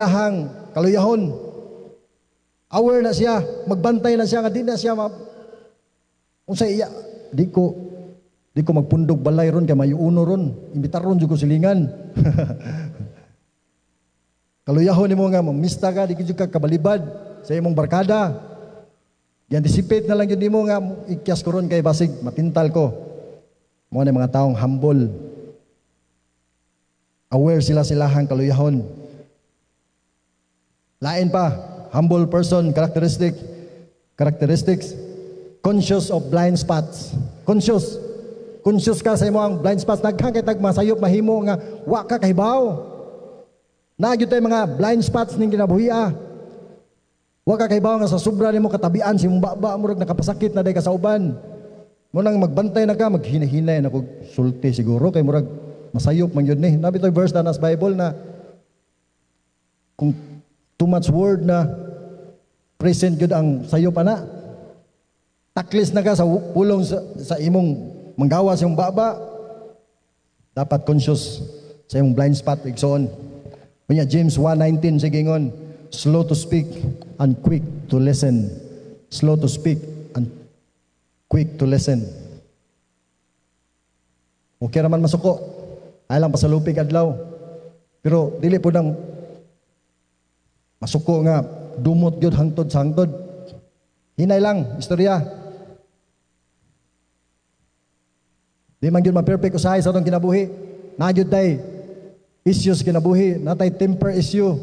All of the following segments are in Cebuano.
Iyahang kaluyahon. Aware na siya, magbantay na siya nga di na siya ma unsa iya, di ko magpundog balay ron kay mayuuno ron, imbitar ron jud ko silingan. Kaluyahon nimo nga mamista ka, di jud ka kabalibad sa imong barkada. Gi-anticipate na lang jud nimo nga ikyas ko ron kay basig matintal ko. Mao na mga taong humble. Aware sila silahang kaluyahon. Lain pa, humble person characteristics, conscious of blind spots. Conscious. Conscious ka sa imong blind spots. Daghan kay tag masayop mahimo nga wa ka kahibaw. Naa gyud tay mga blind spots ning kinabuhia. Wa ka kahibaw nga sa sobra nimo katabian si imong baba, murag nakapasakit na day ka sa uban. Mo nang magbantay na ka, maghinahinay na kog sulti siguro kay murag masayop man gyud ni. Naa bitoy verse na sa Bible na kung too much word na present gyud ang sayop ana. Taklis na ka sa pulong sa imong manggawa sa imong baba. Dapat conscious sa imong blind spot, igsoon. Unya James 1:19 sige ingon, slow to speak and quick to listen. Slow to speak and quick to listen. Okay raman masuko. Ay lang pasalupig adlaw. Pero dili po nang masuko nga dumot gyud hangtod sa hangtod. Hinay lang istorya. Di man gyud ma-perfect usahay sa atong kinabuhi. Naa gyud tay issues kinabuhi, natay temper issue,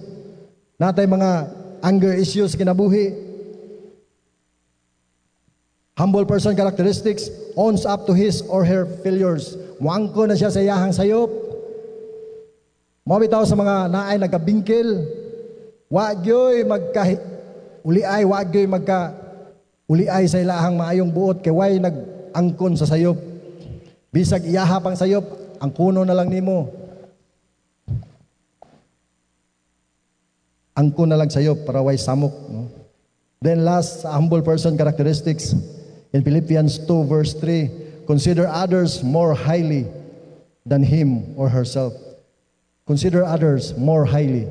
natay mga anger issues kinabuhi. Humble person characteristics, owns up to his or her failures. Muangko na siya sa iyahang sayop. Mao bitaw sa mga naay nagkabingkil, wa gyoy magka uliay, wa gyoy magka uliay sa ilahang maayong buot kay way nag-angkon sa sayop. Bisag iyaha pang sayop, angkono na lang nimo. Angkon na lang sayop para way samok, no? Then last, humble person characteristics in Philippians 2 verse 3, consider others more highly than him or herself. Consider others more highly.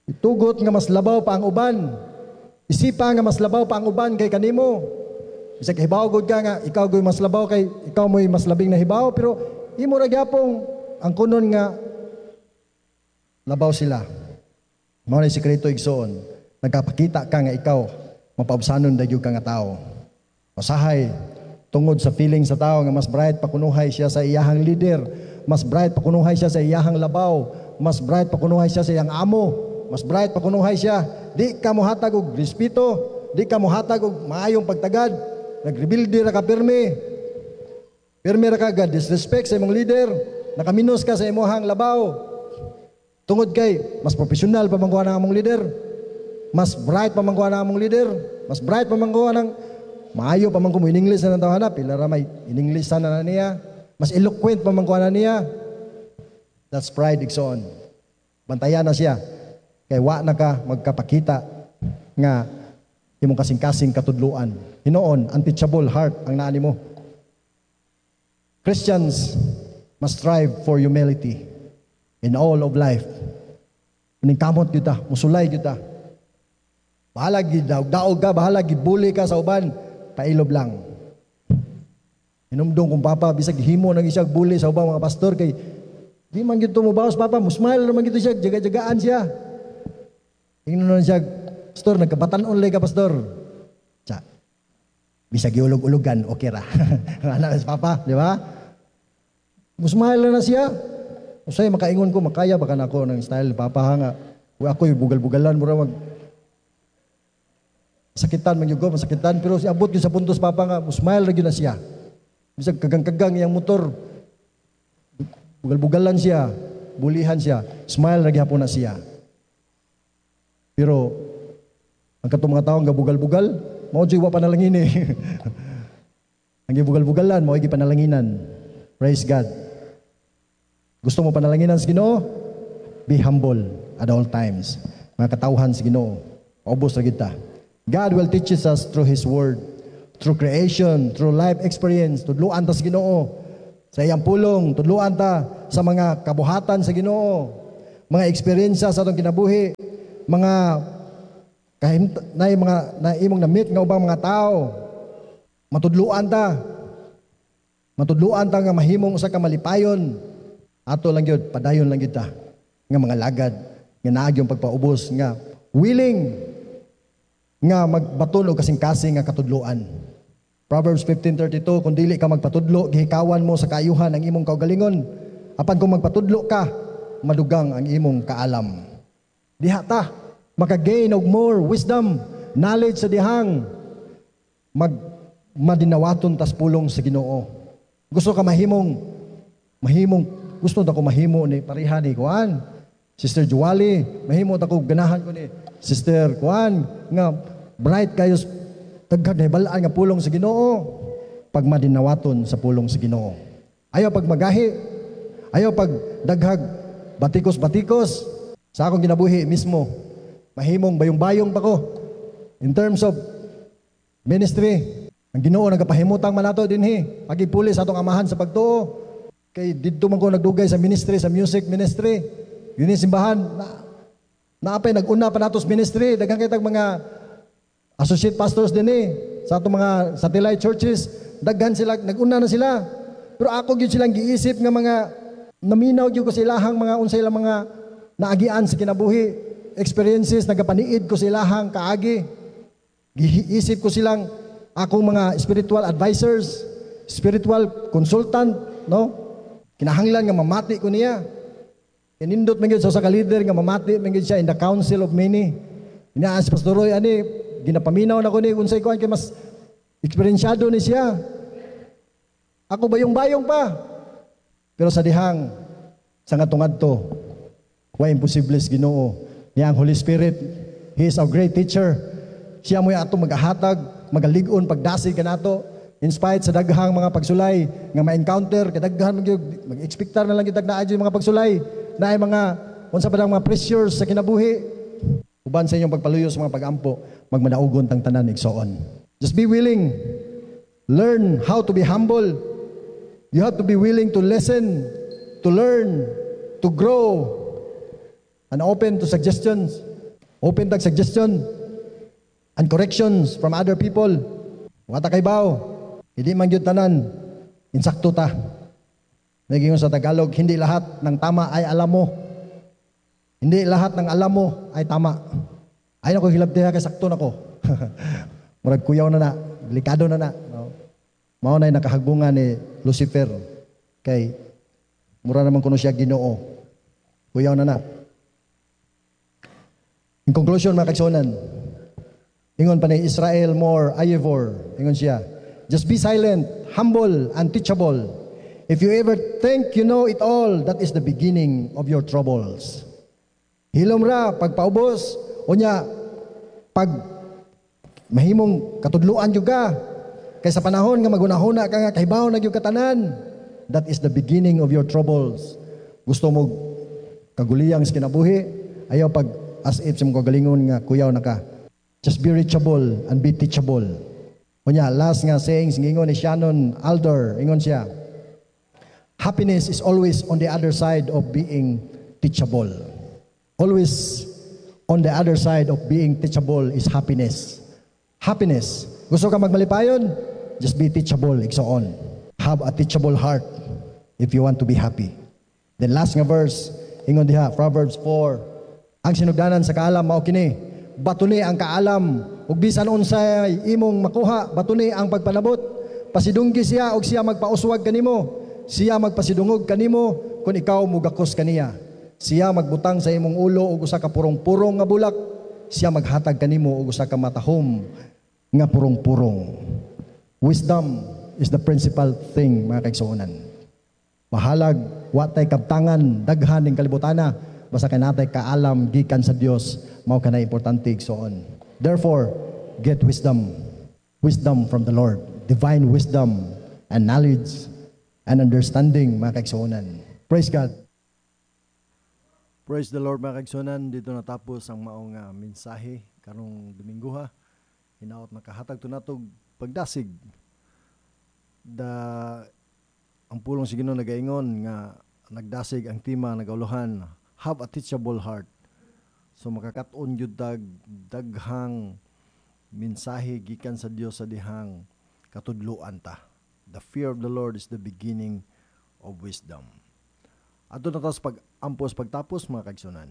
Itugot nga mas labaw pa ang uban. Isipa nga mas labaw pa ang uban kay kanimo. Bisag hibaw gud ka nga ikaw gud mas labaw kay ikaw mo'y mas labing na hibaw, pero imo ra gyapong ang kunon nga labaw sila. Mao ni sikreto, igsoon. Nagkapakita ka nga ikaw mapaubsanon dayon ka nga tao. Usahay tungod sa feeling sa tao nga mas bright pa kunuhay siya sa iyahang leader, mas bright pa kunuhay siya sa iyahang labaw, mas bright pa kunuhay siya sa iyang amo, mas bright pa kunuhay siya. Di ka mohatag og respeto, di ka mohatag og maayong pagtagad. Nagrebelde ra ka pirmi. Pirmi ra ka ga disrespect sa imong leader, nakaminos ka sa imong labaw. Tungod kay mas profesional pa man kuha ng among leader, mas bright pa man kuha ng among leader, mas bright pa man kuha ng maayo pa man kumo in English na ng tawhana, pila ra may in English na na niya, mas eloquent pa man kuha na niya. That's pride, igsoon. Bantayan na siya. Kay wa na ka magkapakita nga imong kasing-kasing katudluan. Hinoon, unteachable heart ang naani mo. Christians must strive for humility in all of life. Maningkamot gyud ta, musulay gyud ta. Bahala gid daog ka, bahala gid bully ka sa uban, pailob lang. Hinumdum kong papa, bisag himo nang isang bully sa ubang mga pastor kay di man gyud to mobawas papa, mo-smile naman gyud siya, jaga-jagaan siya. Ingnon siya, "Pastor, nagkabatan-on lay ka, pastor." Tsa. Bisag giulog-ulugan, okay ra. Anak si papa, di ba? Mo-smile na siya. Usay makaingon ko, makaya baka nako ng style papa ha nga. Uy, ako'y bugal-bugalan, mura mag sakitan man gyud ko, masakitan, pero si abot gyud sa puntos papa nga mo-smile ra gyud na siya. Bisag kagang-kagang iyang motor, bugal-bugalan siya, bulihan siya, smile ra gyapon na siya. Pero ang katong mga tawo nga bugal-bugal, mao jud wa panalangin eh. Ang gibugal-bugalan, mao gipanalanginan. Praise God. Gusto mo panalanginan sa Ginoo? Be humble at all times. Mga katawhan sa Ginoo, paubos ra kita. God will teach us through His Word, through creation, through life experience. Tudluan ta sa Ginoo. Sa iyang pulong, tudluan ta sa mga kabuhatan sa Ginoo. Mga eksperyensya sa atong kinabuhi, mga kahim na mga na imong na-meet nga ubang mga tao, matudluan ta. Matudluan ta nga mahimong usa ka malipayon. Ato lang gyud, padayon lang gyud ta nga mga lagad nga naa gyung pagpaubos nga willing nga magbaton og kasing-kasing nga katudloan. Proverbs 15:32, "Kung dili ka magpatudlo, gihikawan mo sa kaayuhan ang imong kaugalingon. Apan kung magpatudlo ka, madugang ang imong kaalam." Diha ta makagain og more wisdom, knowledge sa dihang mag madinawaton tas pulong sa Ginoo. Gusto ka mahimong mahimong gusto ta ko mahimo ni pareha ni kuan Sister Juwali, mahimo ta ko, ganahan ko ni Sister kuan nga bright kayo, daghang nahibalaan nga pulong sa Ginoo pag madinawaton sa pulong sa Ginoo. Ayaw pag magahi, ayaw pag daghag batikos-batikos. Sa akong kinabuhi mismo, mahimong bayong-bayong pa ko in terms of ministry. Ang Ginoo nagapahimutang man nato dinhi. Pagipuli sa atong amahan sa pagtuo. Kay didto man ko nagdugay sa ministry, sa music ministry. Dinhi simbahan, na, naapay nag-una pa nato sa ministry. Daghan kay tag mga associate pastors dinhi sa atong mga satellite churches. Daghan sila, nag-una na sila. Pero ako gyud silang giisip nga mga naminaw gyud ko sa ilahang mga unsay ilang mga naagian sa kinabuhi, experiences, nagapaniid ko sa ilahang kaagi. Giisip ko silang akong mga spiritual advisors, spiritual consultant, no? Kinahanglan nga mamati ko niya. Kinindot man gyud sa usa ka leader nga mamati man gyud siya in the council of many. Ina si Pastor Roy ani, ginapaminaw na ko ni unsay kuan kay mas eksperyensyado ni siya. Ako bayong-bayong pa. Pero sa dihang sa ngadto, way imposible sa Ginoo. Niya ang Holy Spirit, He is our great teacher. Siya mo'y atong magahatag, magalig-on pagdasig kanato. In spite sa daghang mga pagsulay nga ma-encounter, kadaghan man gyud, mag-expectar na lang gyud naa gyud mga pagsulay, naay mga unsa pa mga pressures sa kinabuhi. Uban sa inyong pagpaluyo sa mga pagampo, magmadaugon tang tanan, igsoon. Just be willing. Learn how to be humble. You have to be willing to listen, to learn, to grow, and open to suggestions. Open tag suggestion and corrections from other people. Wa ta kaybaw. Hindi man gyud tanan insakto ta. Naging sa Tagalog, hindi lahat ng tama ay alam mo. Hindi lahat ng alam mo ay tama. Ay nako, hilabti kay sakto nako. Murag kuyaw na na, delikado na na. No? Mao na nakahagbungan ni Lucifer kay mura naman kuno siya Ginoo. Kuyaw na na. In conclusion, mga kaigsuonan, ingon pa ni Israel Moore Ayivor, ingon siya, "Just be silent, humble, and teachable. If you ever think you know it all, that is the beginning of your troubles." Hilom ra, pagpaubos, unya, pag mahimong katudluan gyud ka, kay sa panahon nga magunahuna ka nga kahibaw na gyud katanan, that is the beginning of your troubles. Gusto mo kaguliyang sa kinabuhi, ayaw pag as if sa mong kagalingon nga kuyaw na ka. Just be reachable and be teachable. Unya, last nga sayings, ingon ni Shannon Alder, ingon siya, "Happiness is always on the other side of being teachable." Always on the other side of being teachable is happiness. Happiness. Gusto ka magmalipayon? Just be teachable, igsoon. Have a teachable heart if you want to be happy. Then last nga verse, ingon diha, Proverbs 4, "Ang sinugdanan sa kaalam mao kini, batuni ang kaalam, ug bisan unsay imong makuha, batuni ang pagpanabot. Pasidunggi siya ug siya magpauswag kanimo. Siya magpasidungog kanimo kung ikaw mugakos kaniya. Siya magbutang sa imong ulo og usa ka purong-purong nga bulak. Siya maghatag kanimo og usa ka matahom nga purong-purong." Wisdom is the principal thing, mga kaigsuonan. Bahalag wa tay kabtangan daghan ning kalibutana, basta kay natay kaalam gikan sa Dios, mao kanay importante, igsoon. Therefore, get wisdom. Wisdom from the Lord, divine wisdom and knowledge and understanding, mga kaigsuonan. Praise God. Praise the Lord, mga kaigsuonan. Dito natapos ang maong mensahe karong Domingo ha. Hinaot nakahatag to natog pagdasig. Da ang pulong sa Ginoo nagaingon nga nagdasig ang tema nagauluhan, Have a teachable heart. So makakat-on gyud tag daghang mensahe gikan sa Dios sa dihang katudloan ta. The fear of the Lord is the beginning of wisdom. Adto na ta sa pag-ampos pagtapos, mga kaigsuonan.